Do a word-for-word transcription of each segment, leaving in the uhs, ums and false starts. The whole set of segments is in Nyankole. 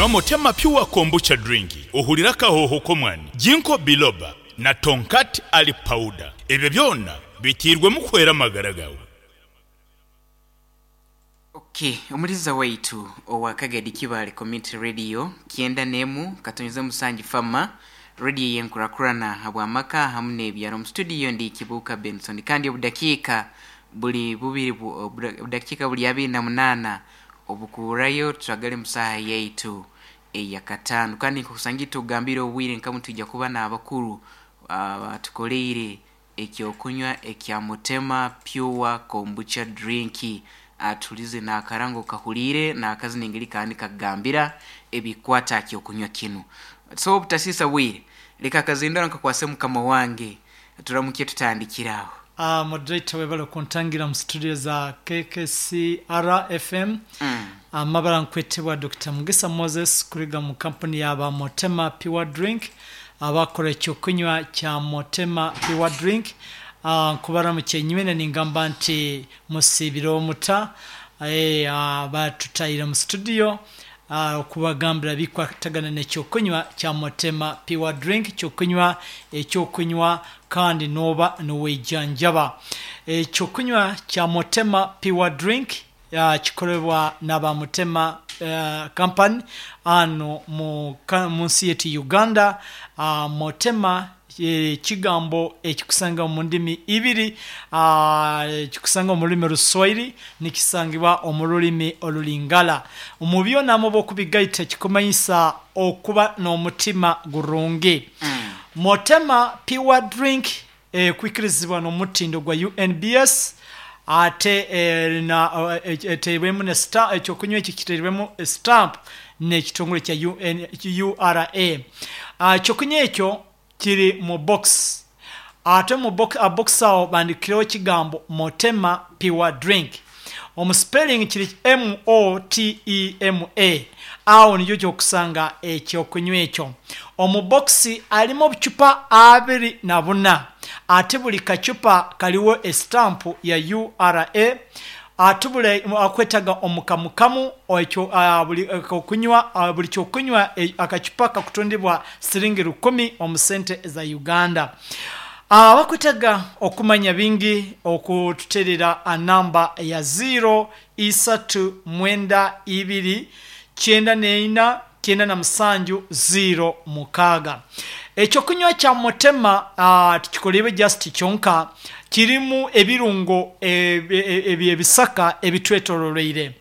Nywa Motema Pure Kombucha Drink ohurire akahooho k'omwani, Ginkgo Biloba na Tongkat Ali Powder. Ebyo byona biteirwemu kuhwera amagara gaawe. Okay, omuliza waitu owa Kagadi Kibaale Community Radio kyenda n'emu katonyeze musanju Fama Radio yenkurakurana habw'amaka hamu n'ebyaro. Mu studio ndi Kibuuka Benson, kandi obudakiika buli bubiri bu- obuda- obudakiika buli abiri na munaana obukuurayo twagale mu saaha yaitu eyakataano. Kandi nkusangi tugambire obwire nkamu twijja kuba n'abakuru batukoleire ekyokunywa ekya Mutema Pure Kombucha Drink, atulize n'akarango kahuliire n'akazi nengeri kandi kakugambira ebikwata kyokunywa kinu. So obutasiisa bwire, leka akazindaro nkakwase mukama wange, turamuke tutandikiraho. Uh, moderator, webale kuntangira mu studio za K K C R F M. mm. Amabara nkwetebwa Doctor Mugisa Moses, kuriga mu kampuni yaba Motema Pure Drink, abakora ekyokunywa kya Motema Pure Drink. uh, nkubaramukiye nywene, ningamba nti musiibire omuta. eh, uh, batutaire mu studio uh, okubagambira bikwatagana n'ekyokunywa kya Motema Pure Drink, kyokunywa ekyokunywa kandi noba niwejanjaba. Ekyokunywa kya Motema Pure Drink uh, kikolebwa n'aba Mutema uh, Company ano mu, ka- mu nsi yetu Uganda. uh, motema ekigambo ekikusanga mu ndimi ibiri, uh, kikusanga mu lulimi Oluswahili, nikisangibwa omu lulimi Olulingala. Mu byonamu bwokubigaita kikumanyisa okuba n'omutima gurungi. Mm. Motema Pure Drink eh, kwikirizibwa n'omutindo gwa U N B S, ate eh, na eh, eteirwemu ne stamp. Ekyokunywa ekyo kiteirwemu stamp n'ekitongole kya U N, U R A. Ah, ekyokunywa ekyo kiri mu box, ate mu box, a box awo bandikireho ekigambo Motema Pure Drink. Omu spelling kiri M O T E M A. Awo niyo kyokusanga ekyokunywa ekyo. Omu box alimu obucupa abiri na buna, ate buli kacupa kaliwo estampu ya U R A. Ate buli akwetaga omukamukamu ekyo ah, buli okunywa, ah, buli kyokunywa eh, akacupa kakutundibwa siringi rukumi omu sente za Uganda. Abakwetaga okumanya bingi okututerera namba ya ziro isatu mwenda ibiri kyenda neina kyenda na musanju ziro mukaaga. Ekyokunywa kya Mutema uh, tikikolebwe just kyonka, kirimu ebirungo ebisaka ebitwetoloreire.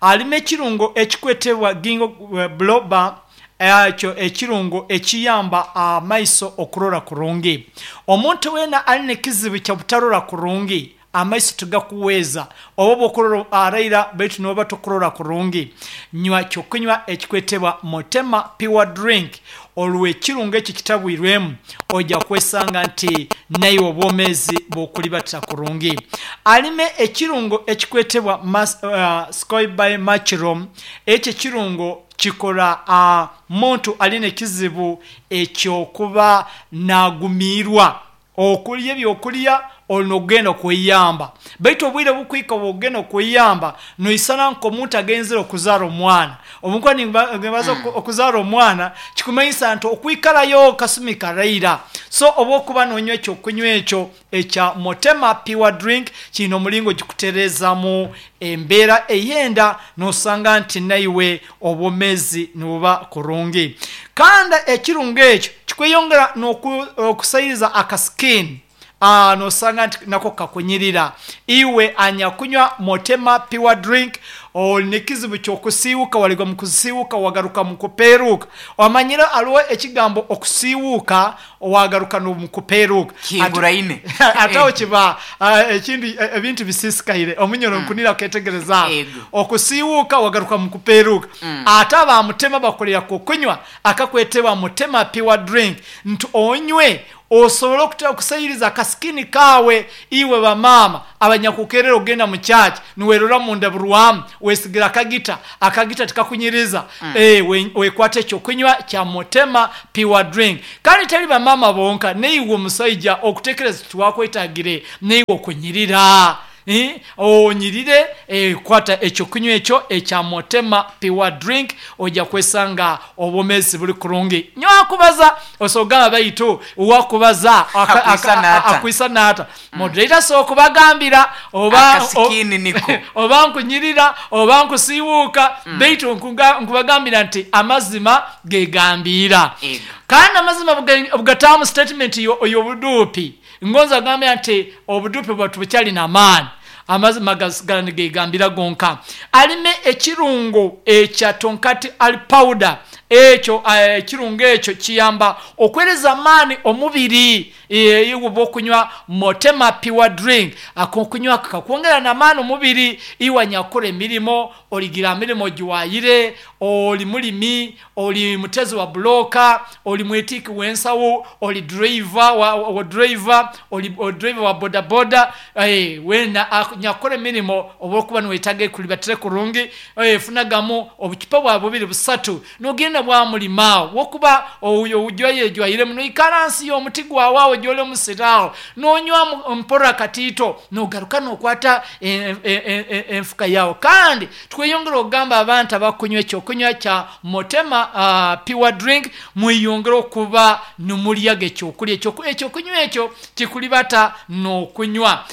Alimu ekirungo ekikwetebwa ginkgo biloba, ekyo ekirungo ekiyamba amaiso okurora kurungi. Omuntu weena alina ekizibu kya butarora kurungi, amaiso tigakuweeza, oba bwokurora araira baitu noba tokurora kurungi, nywa kyokunywa ekikwetebwa Motema Pure Drink. Olwo ekirungo ekyo kitabwirwemu, ojja kwesanga nti naiwe obwomeezi bwokulibatira kurungi. Alime ekirungo ekikwetebwa mas, uh, scoby mushroom. Ekyo ekirungo kikora uh, muntu alina ekizibu ekyokuba nagumiirwa okulya ebyokulya, olina okugenda okweyamba, baitu obwire bukwika bwogenda okweyamba noisana nk'omuntu agenzere okuzaara omwana. Omukuba nimbaza mm. okuzaara omwana kikumanyisa nti okwikarayo kasumi karaira. So oba okuba nonywa ekyokunywa ekyo ekya Motema Pure Drink, kiina omulingo gikutereezamu embeera eyenda, nosanga nti naiwe obwomeezi nibuba kurungi. Kandi ekirungo ekyo kikweyongera n'okusayiriza akasikini, uh, nosanga nti nako kakunyirira. Iwe anyakunywa Motema Pure Drink, olina ekizibu kyokusiiwuka, waligwa mu kusiiwuka wagaruka mu kupeeruuka. Omanyire aliwo ekigambo okusiiwuuka wagaruka mu kupeeruuka. Kinguraine. Ate awo kiba ah, ekindi eh, ebintu bisisikaire omunyoro nkunira ketegereza. Ego. Okusiiwuuka wagaruka mu kupeeruuka, ate abamutema bakolera kukunywa akakwetebwa Mutema Pure Drink nti onywe osobole okuta- okusayiriza akasikini kaawe. Iwe bamaama abanyakukerera ogenda mu kyaki, niwerora munda burwamu, wesigira akagita, akagita tikakunyiriza. mm. e, we, wekwata ekyokunywa kya Mutema Pure Drink. Kandi teri bamaama bonka, neiwe omusaija okutekereza tiwakwetagire neiwe okunyirira. Eh, onyirire eh, kwata ekyokunywa ekyo ekya Motema Pure Drink, ojja kwesanga obwomezi buli kurungi. Nyakubaza osogamba baitu wakubaza aka- Akwisa aka- n'ata. akwisa n'ata. Moderator so kubagambira oba Akasikini niko. oba nkunyirira oba nkusiiwuuka, baitu nkuga- nkubagambira nti amazima gegambira. Ego. Kandi amazima buga- bugataamu statement yo- y'obuduupi, ngonza agambira nti obuduupi bwatu bukyalina amaani, amazima gasigala nigegambira gonka. Alime ekirungo ekya tonkati ali powder, ekyo eh, ekirungo ekyo kiyamba okwereza amaani omubiri. eh, iwe oba okunywa Motema Pure Drink, akokunywa kakwongera namaani omubiri. Iwe nyakora emirimo, oligira mirimo giwayire, oli mulimi, oli mutezi wa buloka, oli mwetiki w'ensawo, oli driver wa, wa driver, oli, oli driver wa bodaboda, eh, wena ak- nyakora emirimo oba okuba niwetaaga ekulibatire kurungi, eh, funagamu obucupa bwa bubiri busatu nogenda bwamulimaawo wokuba ojwayejwayiremu noikara nsi y'omuti gwawe awo gyoli omusiraawo nonywa mu- mpora katiito nogaruka nokwata en- en- en- en- enfuka yawe. Kandi tweyongera okugamba abantu abakunywa ekyokunywa kya Motema uh, Pure Drink, mweyongere okuba nimulyaga ekyokulya. Ekyoku- ekyokunywa ekyo kikulibata n'okunywa.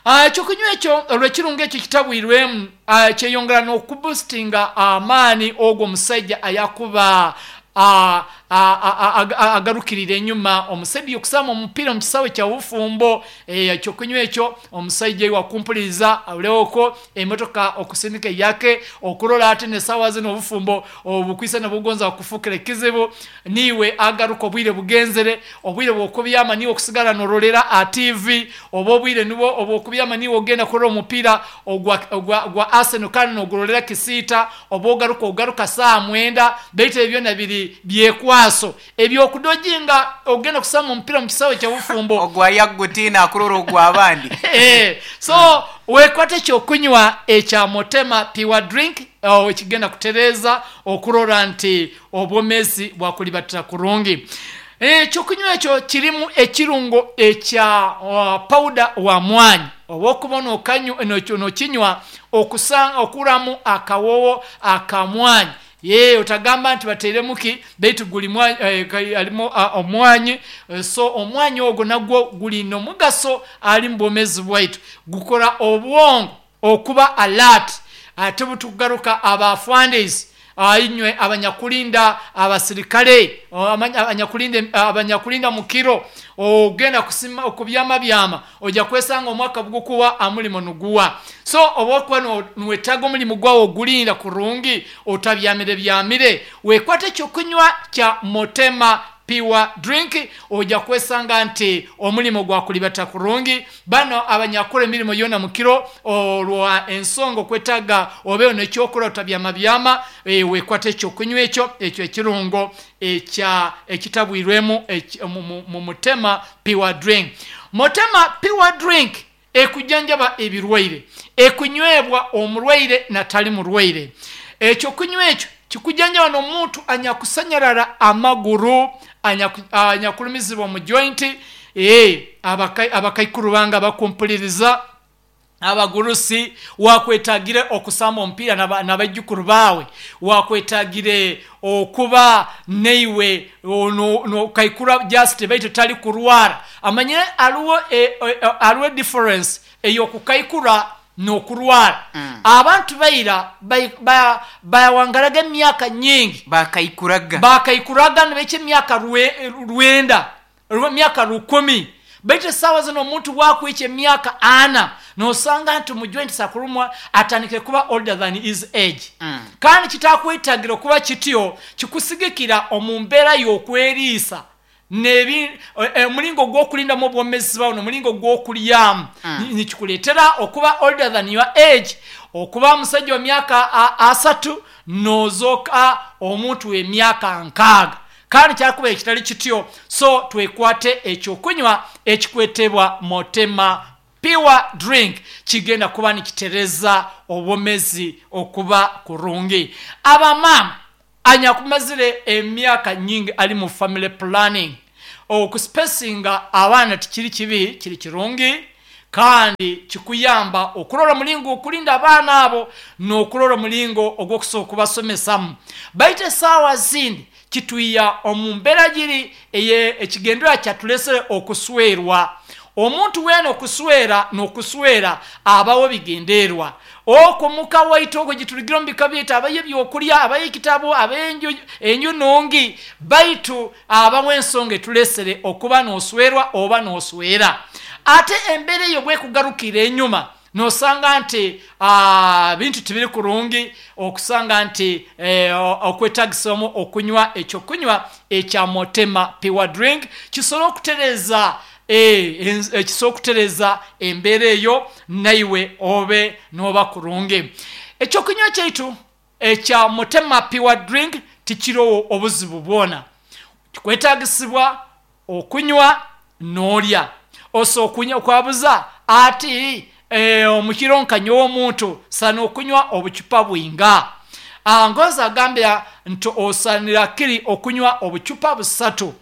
Ah, ekyokunywa ekyo olwekirungo ekyo kitabwirwemu, ah, kyeyongera n'okuboostinga amaani ogwo omusajja ayakuba ah, ah, ah, ah, ah, agarukirira enyuma omusajja okusamba omupiira mu kisawe kya bufumbo. eh, ekyokunywa ekyo omusajja wakumpuliriza awulewoko emotoka okusindika eyake okurola ate nesawa zino obufumbo obukwisa nebugonza okufukira ekizibu, niwe agaruka obwire bugenzere, obwire bwokubyama niwe okusigala norolera a T V, oba obwire nibwo obwokubyama niwe ogenda kurora omupiira ogwa, ogwa, gwa Arsenal kandi nogurolera kisiita, oba ogaruka ogaruka saa mwenda. Baitu ebyo byona biri byekwaso ebyokudojinga ogenda kusamba omupiira mu kisawe kyobufumbo. Ogwa yagutina akurora ogw'abandi. Eh, so wekwate ekyokunywa ekya Motema Pure Drink, oh, ekigenda kutereeza okurora nti obwomezi bwakulibatira kurungi. Ekyokunywa ekyo kirimu ekirungo ekya uh, powder wa mwanyi, oba okuba nokanyu- noki- nokinywa okusanga okuramu akawowo akamwanyi. Ye otagamba nti bateeremuki, baitu guli mwanyi, eh, kai- alimu ah, omwanyi. Eh, so omwanyi ogwo nagwo gulina omugaso ali mu bwomezi bwaitu, gukora obwongo okuba alert. Ate bwetugaruka abafandis inywe abanyakulinda abasirikale, o, amanya- abanyakulinda abanyakulinda mukiro, ogenda kusima okubyama byama, ojja kwesanga omwaka gukuwa amulimo nuguwa. So oba okuba no- niwetaaga omulimu gwawe ogulinda kurungi, otabyamire byamire, wekwate ekyokunywa kya Motema Pure Drink, ojja kwesanga nti omulimu gwakulibata kurungi. Bano abanyakola emirimu yona mukiro olwa ensonga okwetaaga obeewo nekyokola otabyama byama, eh, wekwate ekyokunywa ekyo ekyo ekirungo ekya ekitabwirwemu eki- mu- mu mu Mutema Pure Drink. Motema Pure Drink ekujjanjaba ebirwaire, ekunywebwa omulwaire natali mulwaire. Ekyokunywa ekyo kikujjanjaba n'omuntu anyakusanyalala amaguru, anyaku- anyakulumizibwa mu joint, eh, abaka- abakaikuru bange bakumpuliriza, abagurusi, wakwetagire okusamba omupiira n'aba- n'abaijukuru baawe, wakwetagire okuba neiwe nokaikura just baitu tali kurwara. Amanyire aliwo e, e, e, aliwo difference ey'okukaikura n'okurwara. Abantu baira bawangalaga emyaka nyingi, bakaikuraga, bakaikuraga nibaikya emyaka rwe- rwenda, rwe- emyaka rukumi, baitu esaawa zino omuntu wakwikya emyaka ana nosanga nti mujoint akurumwa, atandikire kuba older than his age. Mm. Kandi kitakwetagira okuba kityo, kikusigikira omu mbeera y'okweriisa nebi eh, omulingo gw'okulindamu obwomezi bwawe n'omulingo gw'okulyamu. Mm. Nikikuleetera okuba older than your age, okuba musajja wa myaka a- asatu nozooka omuntu w'emyaka nkaaga, kandi kyakuba ekitali kityo. So twekwate ekyokunywa ekikwetebwa Motema Pure Drink, kigenda kuba nikitereza obwomezi okuba kurungi. Abamaama anyakumazire emyaka nyingi ali mu family planning, okuspacinga abaana tikiri kibi, kiri kirungi. Kandi kikuyamba okurora omulingo okurinda abaana abo n'okurora omulingo ogw'okusobola okubasomesamu. Baitu esaawa zindi kitwiya omu mbeera giri eye ekigendera kyatulesere okuswerwa. Omuntu weena okuswera n'okuswera abawo bigenderwa okwo muka waitu okwo giturugira omu bika byaitu, abayo ebyokurya, abayo ekitabo, abayo enju, enju nungi, baitu abawo ensonga etulesere okuba n'oswerwa oba n'oswera. Ate embeera eyo bwekugarukira enyuma nosanga nti ah, bintu tibiri kurungi, okusanga nti eh, okwetagisamu okunywa ekyokunywa ekya Motema Pure Drink kisobora okutereza eh, enz- eh, kisobora okutereza embeera eyo naiwe obe noba kurungi. Ekyokunywa kyaitu ekya Motema Pure Drink tikirowo obuzibu bwona. Kikwetagisibwa okunywa n'olya oso okunywa okwabuza ati eh, omukiro nkanyowe omuntu sana okunywa obucupa bwinga. Ah, ngoza agambira nti osanira kiri okunywa obucupa busatu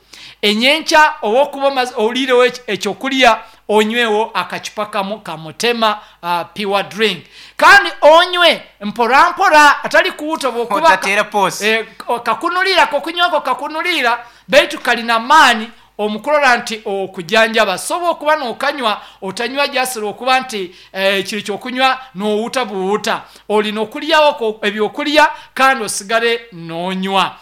enyenkya owokuba omaze oliirewo ekyokulya, onywewo akacupa kamu ka Mutema uh, Pure Drink, kandi onywe mpora mpora, atali kuwuta bwokuba otateera poosi. Eh, kakunulira kokunywako kakunulira, baitu kalina maani omukurora nti okujanjaba. Soba okuba nokanywa otanywa jasira okuba nti eh, kiri kyokunywa nowuta buwuta, olina okulyawo ebyokulya kandi osigale nonywa.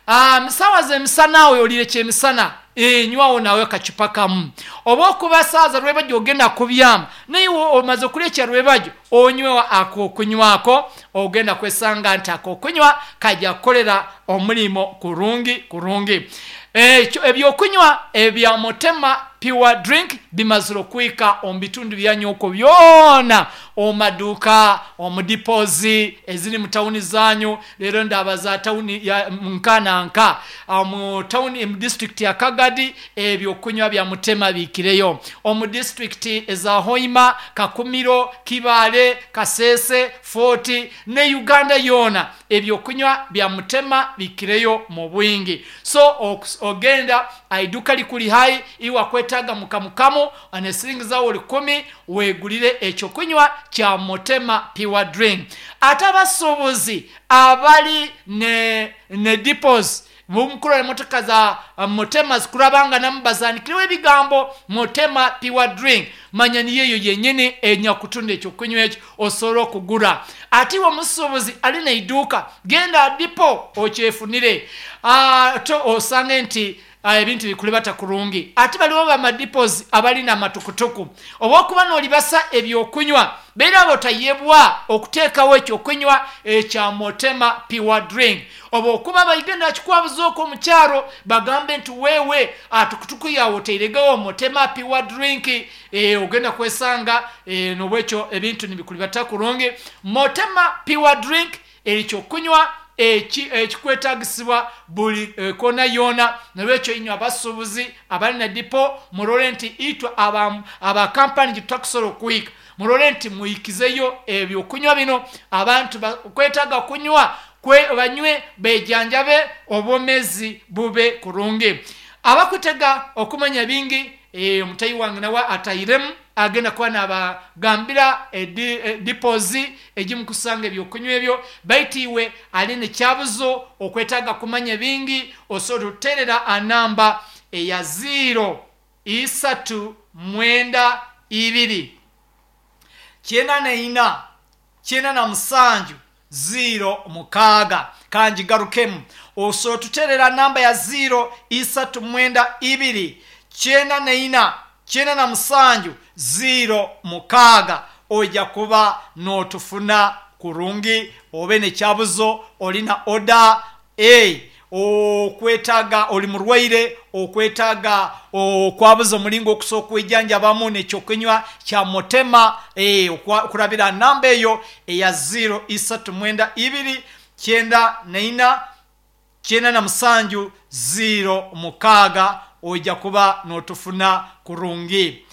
Ah, sawa zemisana awo olire kyemisana, e, nywawo nawe kacupa kamu, oba okuba saaza rwebajjo ogenda kubyama naye omaze okulya ekyarwebajjo onywewo akokunywako, ogenda kwesanga nti akokunywa kajja kukolera omulimo kurungi kurungi. Ekyo ebyokunywa ebya Mutema Pure Drink bimazire okwika omu bitundu byanyu okwo byona, omu maduuka, omu dipozi eziri mu tawuni zanyu. Leero ndaba za tawuni ya nka na nka omu tawuni mu disitulikiti ya Kagadi, ebyokunywa bya Mutema biikireyo omu disitulikiti eza Hoima, Kakumiro, Kibaale, Kasese, Fort ne Uganda yoona, ebyokunywa bya Mutema biikireyo mu bwingi. So okus- ogenda aiduka likuli hai iwe akwetaaga mukamukamu anesiringi zawe rukumi wegulire ekyokunywa kya Mutema Pure Drink. Ate abasuubuzi abali ne, ne dipos mumukurora emotoka za uh, Mutema zikurabanganamu bazanikireho ebigambo Mutema Pure Drink, manya niyo eyo yenyini enyakutunda ekyokunywa ekyo osobola okugura. Ate iwe omusuubuzi alina eiduuka, genda dipo okyefunire. Ah, to osange nti ah, ebintu bikulibata kurungi. Ate baliwo bamadipozi abalina amatukutuku, oba okuba nolibasa ebyokunywa beera abo tayebwa okuteekawo ekyokunywa ekya Motema Pure Drink, oba okuba baigenda kikwabuza okwo omukyaro bagambe nti wewe atukutuku yawe oteiregewo Motema Pure Drink, e, ogenda kwesanga e, nobwekyo ebintu nibikulibata kurungi. Motema Pure Drink ekyokunywa eki- ekikwetagisibwa buli eh, kona yona. Nolwekyo inywe abasuubuzi abalina dipo murole nti itwe aba abakampani gitutakusobola okuhika, murole nti muhikizeyo ebyokunywa bino. Abantu bakwetaaga kunywa kwe banywe bejanjabe obwomezi bube kurungi. Abakutega okumanya bingi, eh, omutayi wange nawe atayiremu agenda kuba nabagambira edipozi egimukusanga ebyokunywa ebyo. Baitu iwe ali nekyabuzo okwetaaga kumanya bingi, osobola otuterera anamba eya ziro isatu mwenda ibiri kyenda na ina kyenda na musanju ziro mukaaga. Kangigarukemu, osobola otuterera namba ya ziro isatu mwenda ibiri kyenda na ina kyenda na musanju ziro mukaaga, ojja kuba n'otufuna kurungi. Obe nekyabuzo, olina oda e okwetaaga, oli murwaire okwetaaga okwabuza omulingo okusobola okwejanjabamu nekyokunywa kya Mutema, e, okurabira namba eyo eya ziro isatu mwenda ibiri kyenda na ina kyenda na musanju ziro mukaaga, ojja kuba n'otufuna kurungi.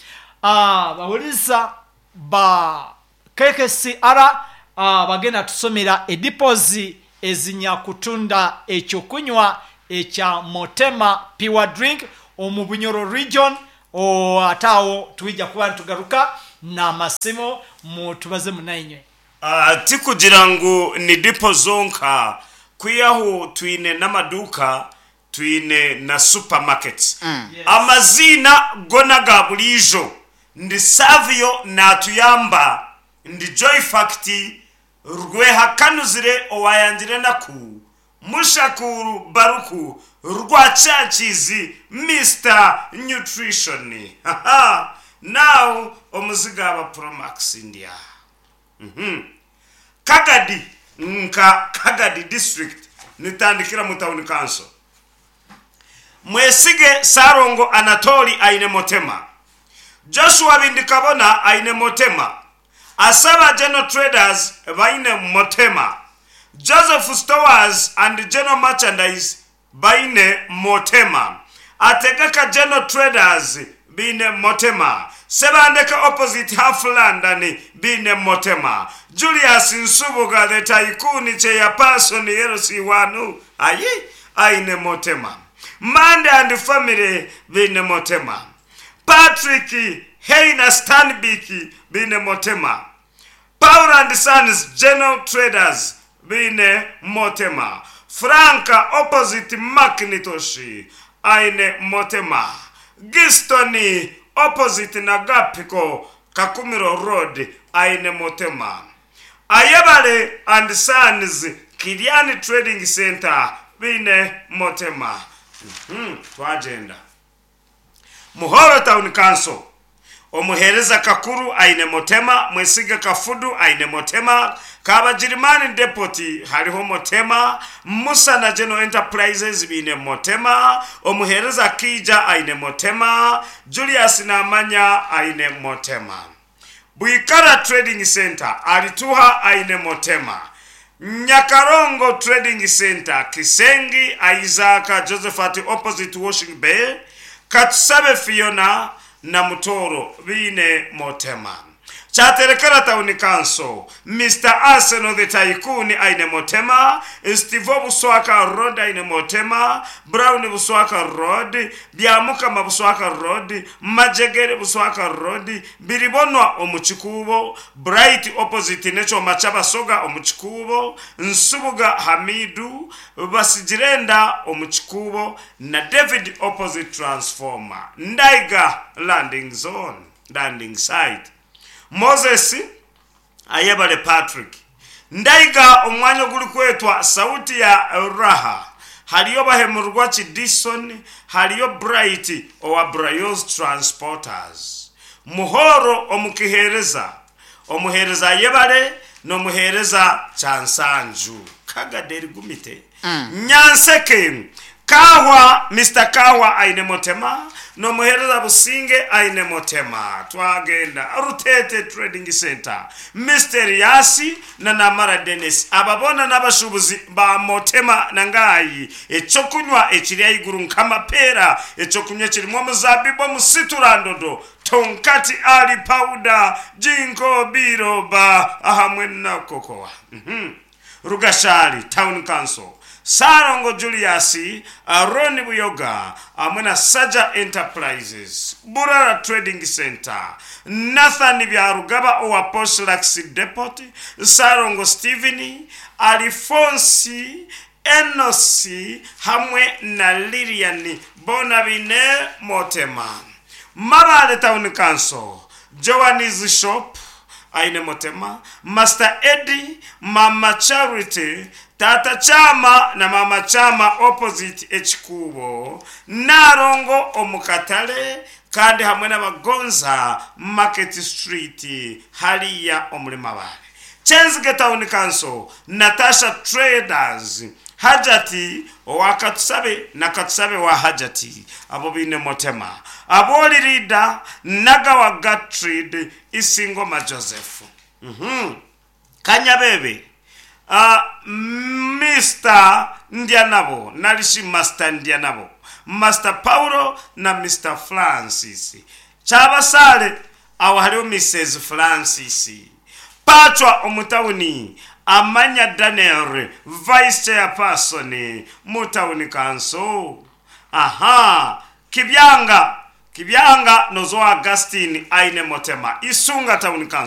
Ah, bawuliriza ba K K C R, ah, bagenda tusomera edipozi ezinyakutunda ekyokunywa ekya Motema Pure Drink omu Bunyoro region. O, ate awo twija kuba nitugaruka. N'amasimu mutubaze munainywe. Ah, tikugira ngu ni dipo zonka, kwihaho twine n'amaduuka, twine na supermarkets. Yes. Amaziina gona ga buriijo ndi Savio natuyamba, ndi Joy Fact Rwehakanuzire owayangire enaku, Mushakuru Baruku Rwacyakizi, Mister Nutrition. Haha, now omuziga aba Promax ndya. Mhm. Kagadi nka Kagadi district nitandikira mu town council. Mwesige Sarongo Anatoli aine Motema, Joshua Bindikabona aine Motema, Asaba General Traders baine Motema, Joseph Stowers and General Merchandise baine Motema, Ategeka General Traders bine Motema, Sebandeka opposite Half London bine Motema, Julius Nsubuga the Tycoon Chairperson L C one ayi aine Motema, Mande and family bine Motema, Patrick Heina Stanbic bine Motema, Paul and Sons General Traders bine Motema, Franka opposite Macintosh aine Motema, Gistoni opposite Nagapiko Kakumiro Road aine Motema, Ayebale and Sons Kiliani Trading Center bine Motema. Mhm, twagenda Muhoro Town Council. Omuhereza Kakuru aine Motema, Mwesiga Kafudu aine Motema, Kabajirimani Depoti hariho Motema, Musa na General Enterprises bine Motema, Omuhereza Kija aine Motema, Julius Namanya aine Motema, Bwikara Trading Center Alituha aine Motema, Nyakarongo Trading Center Kisengi Isaac Josephat opposite Washing Bay, Katusabe Fiona na Mutoro bine Motema. Kyaterekera Town Council, Mister Arsenal the Tycoon aine Motema, Steve Buswaka Road aine Motema, Brown Buswaka Road, Byamukama Buswaka Road, Majegere Buswaka Road, Biribonwa Omuchikubo, Bright opposite Necho Machabasoga Omuchikubo, Nsubuga Hamidu, Basigirenda Omuchikubo na David opposite Transformer, Ndaiga Landing Zone, Landing Site. Moses Ayebale Patrick Ndaiga omwanya oguri kwetwa Sauti ya Raha, hariyo Bahemurwa Chidison, hariyo Bright owa Brayos Transporters. Muhoro omukihereza, omuhereza Ayebale n'omuhereza Chansanju Kagaderi Gumite. mm. Nyanseke Kahwa, Mister Kahwa aine Motema n'omuhereza Businge aine Motema. Twagenda Rutete Trading Center, Mister Yasi na Namara Dennis, ababona n'abashubuzi ba Motema nangayi ekyokunywa ekiri aiguru nk'amapera, ekyokunywa kirimu omuzabibu omusiturandodo, tonkati ali powder, jinko biroba ahamwe na kokoa. mm -hmm. Rugashari Town Council, Sarongo Julius, Aaron Buyoga hamwe na Saja Enterprises, Burara Trading Center, Nathan Byarugaba owa Postlax Depot, Sarongo Steven, Alfonsi Enosi hamwe na Lilian Bonabine Motema. Mabale Town Council, Joanne's Shop aine Motema, Master Eddie, Mama Charity, Tata Chama na Mama Chama opposite Echikubo, Narongo omukatale kandi hamwe n'Abagonza Market Street hariya omuri Mabale. Chenzige Town Council, Natasha Traders, Hajati owakatusabe na Katusabe wa Hajati abo bine Motema, Aboli Rida Nagawa Gatrid Isingoma Joseph. mm-hmm. Kanyabebe uh, Mister Ndianabo nalishi Master Ndianabo, Master Paulo na Mister Francis Kyabasale, awo hariho Missus Francis Pachwa omutawuni, Amanya Daniel Vice Chairperson mu Town Council. Aha, Kibyanga Kibyanga nozo Augustine aine Motema, Isunga Town Council.